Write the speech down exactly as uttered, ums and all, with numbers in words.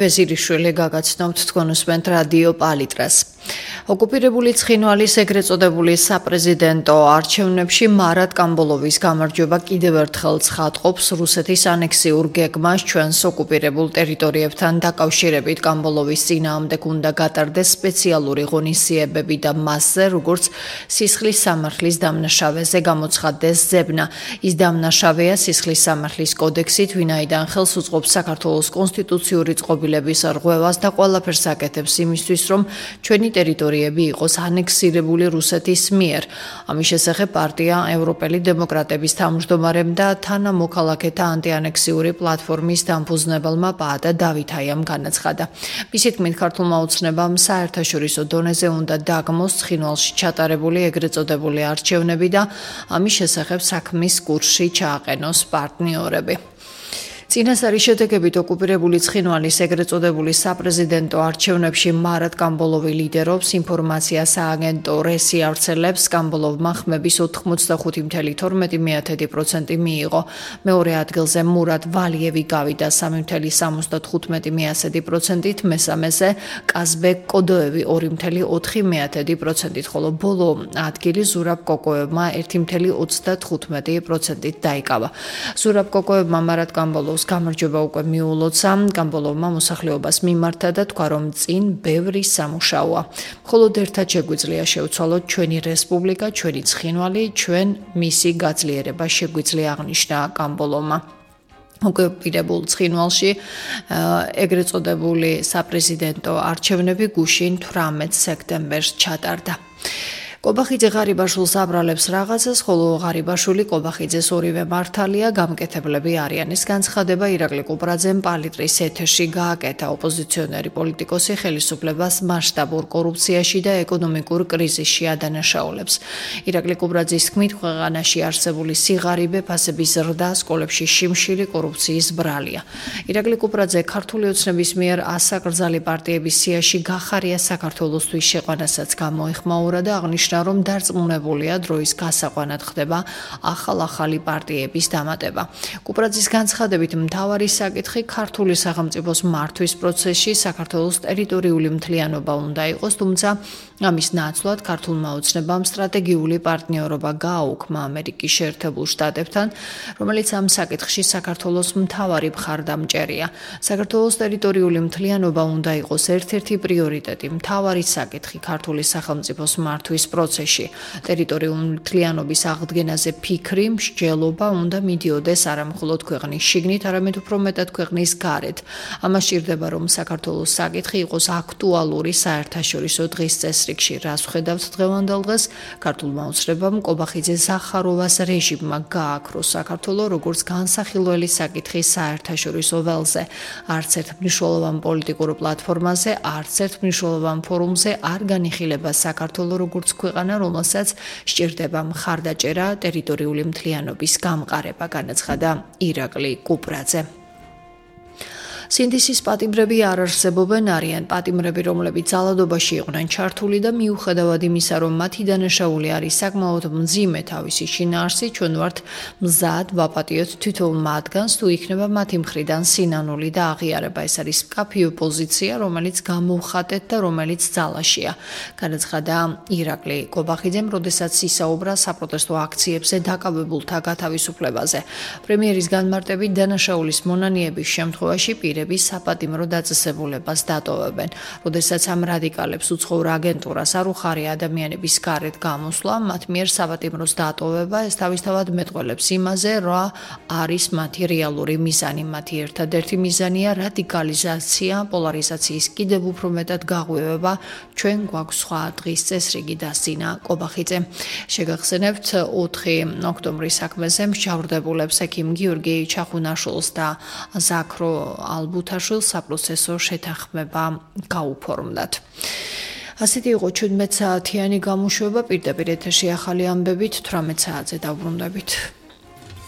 ვეზირიშვილი გაგაცნობთ თქვენ უსმენთ რადიო პალიტრას. ოკუპირებული ცხინვალის ეგრეთ წოდებული საპრეზიდენტო არჩევნებში მარად კამბოლოვის გამარჯვება კიდევ ერთხელ ცხადყოფს რუსეთის ანექსიურ გეგმას ჩვენს ოკუპირებულ ტერიტორიებთან დაკავშირებით. კამბოლოვის წინააღმდეგ უნდა გატარდეს სპეციალური ღონისძიებები და მასზე, როგორც სისხლის სამართლის დამნაშავეზე გამოცხადდეს ზებნა. ის დამნაშავეა სისხლის სამართლის კოდექსით, ვინაიდან ხელს უწყობს საქართველოს კონსტიტუციური წყობილების რღვევას და ყველაფერს აკეთებს იმისთვის, რომ ჩვენი ტერიტორიები იყოს ანექსირებული რუსეთის მიერ. ამის შესახებ პარტია ევროპელი დემოკრატების თავმჯდომარემ და თანამოქალაქეთა ანტიანექსიური პლატფორმის დამფუძნებელმა პაატა დავითაიამ განაცხადა. მისი თქმით, ქართულმა ოცნებამ საერთაშორისო დონეზე უნდა დაგმოს ცხინვალში ჩატარებული ეგრეთ წოდებული არჩევნები და ამის შესახებ საქმის კურსში ჩააყენოს პარტნიორები. წინასწარი შედეგებით ოკუპირებული ცხინვალის ეგრეთ წოდებული საპრეზიდენტო არჩევნებში მარად კამბოლოვი ლიდერობს. ინფორმაცია სააგენტო რესი ავრცელებს, კამბოლოვმა ხმების ოთხმოცდახუთი წამლ თორმეტი პროცენტი მიიღო. მეორე ადგილზე მურად ვალიევი გავიდა სამი წამლ სამოცდათხუთმეტი პროცენტით, მესამეზე კაზბეკ კოდოევი ორი წამლ ოთხი პროცენტით, ხოლო ბოლო ადგილი ზურაბ კოკოევმა ერთი წამლ ოცდათხუთმეტი პროცენტით დაიკავა. ზურაბ კოკოევმა მარად კამბოლოვს გამარჯვება უკვე მიულოცა, კამბოლოვმა მოსახლეობას მიმართა და თქვა, რომ წინ ბევრი სამუშაოა. მხოლოდ ერთად შეგვიძლია შევცვალოთ ჩვენი რესპუბლიკა, ჩვენი ცხინვალი, ჩვენ მისი გაძლიერება შეგვიძლია, აღნიშნა კამბოლოვმა. ოკუპირებულ ცხინვალში ეგრეთ წოდებული საპრეზიდენტო არჩევნები გუშინ თვრამეტ სექტემბერს ჩატარდა. კობახიძე ღარიბაშვილს აბრალებს რაღაცას, ხოლო ღარიბაშვილი კობახიძეს ორივე მართალია, გამკეთებლები არიან. ეს განცხადება ირაკლი კუპრაძემ პალიტრის ეთერში გააკეთა. ოპოზიციონერი პოლიტიკოსი ხელისუფლებას მასშტაბურ კორუფციაში და ეკონომიკურ კრიზისში ადანაშაულებს. ირაკლი კუპრაძის თქმით, ქვეყანაში არსებული სიღარიბე, ფასების ზრდა, სკოლებში შიმშილი კორუფციის ბრალია. ირაკლი კუპრაძე ქართული ოცნების მიერ ასაკრძალი პარტიების სიაში გახარია საქართველოსთვის შეყვანასაც გამოეხმაურა და აღნიშნა, რომ დარწმუნებულია დროის გასაყვანად ხდება ახალ-ახალი პარტიების დამატება. კუპრაძის განცხადებით, მთავარი საკითხი ქართული სახელმწიფოს მართვის პროცესში საქართველოს ტერიტორიული მთლიანობა უნდა იყოს, თუმცა ამის ნაცვლად ქართულმა ოცნებამ სტრატეგიული პარტნიორობა გააუქმა ამერიკის შეერთებულ შტატებთან, რომელიც ამ საკითხში საქართველოს მთავარი მხარდამჭერია. საქართველოს ტერიტორიული მთლიანობა უნდა იყოს ერთ-ერთი პრიორიტეტი, მთავარი საკითხი ქართული სახელმწიფოს მართვის პროცესში. ტერიტორიული მთლიანობის აღდგენაზე ფიქრი, მსჯელობა უნდა მიდიოდეს არა მხოლოდ ქვეყნის შიგნით, არამედ უფრო მეტად ქვეყნის გარეთ. ამას სჭირდება, რომ საქართველოს საკითხი იყოს აქტუალური საერთაშორისო დღის წესრიგში. რას ვხედავთ დღევანდელ დღეს? ქართულმა ოცნებამ კობახიძე ზახაროვას რეჟიმმა გააქრო საქართველო როგორც განსახილველი საკითხის საერთაშორისო ველზე. არც ერთ მნიშვნელოვან პოლიტიკურ პლატფორმაზე, არც ერთ მნიშვნელოვან ფორუმზე არ განიხილება საქართველო როგორც ქვეყანა, რომელსაც სჭირდება მხარდაჭერა, ტერიტორიული მთლიანობის გამყარება, განაცხადა ირაკლი კუპრაძე. სინდისის პატიმრები არ არსებობენ, არიან პატიმრები, რომლებიც ძალადობაში იყვნენ ჩართული და მიუხედავად იმისა, რომ მათი დანაშაული არის საკმაოდ მძიმე თავისი შინაარსით, ჩვენ ვართ მზად ვაპატიოთ თითოეულ მათგანს, თუ იქნება მათი მხრიდან სინანული და აღიარება. ეს არის მკაფიო პოზიცია, რომელიც გამოვხატეთ და რომელიც ძალაშია, განაცხადა ირაკლი კობახიძემ, როდესაც ისაუბრა საპროტესტო აქციებზე დაკავებულთა გათავისუფლებაზე. პრემიერის განმარტებით, დანაშაულის მონანიების შემთხვევაში პირ საპატიმრო დაწესებულებას დატოვებენ. როდესაც ამ რადიკალებს უცხოურ აგენტურას არ უხარია ადამიანების გარეთ გამოსვლა, მათ მიერ საპატიმროს დატოვება, ეს თავისთავად მეტყველებს იმაზე, რა არის მათი რეალური მიზანი. მათი ერთადერთი მიზანია რადიკალიზაცია, პოლარიზაციის კიდევ უფრო მეტად გაღვივება. ჩვენ გვაქვს სხვა დღის წესრიგი, დასძინა კობახიძემ. შეგახსენებთ, ოთხი ოქტომბრის საქმეზე მსჯავრდებულებს ექიმ გიორგი ჩახუნაშვილს და ზაქრო ალბუთაშვილს საპროცესო შეთანხმება გაუფორმდათ. ასეთი იყო ჩვენმეტ საათიანი გამოშვება, პირდაპირ ეთერში ახალი ამბებით თვრამეტ საათზე დავბრუნდებით.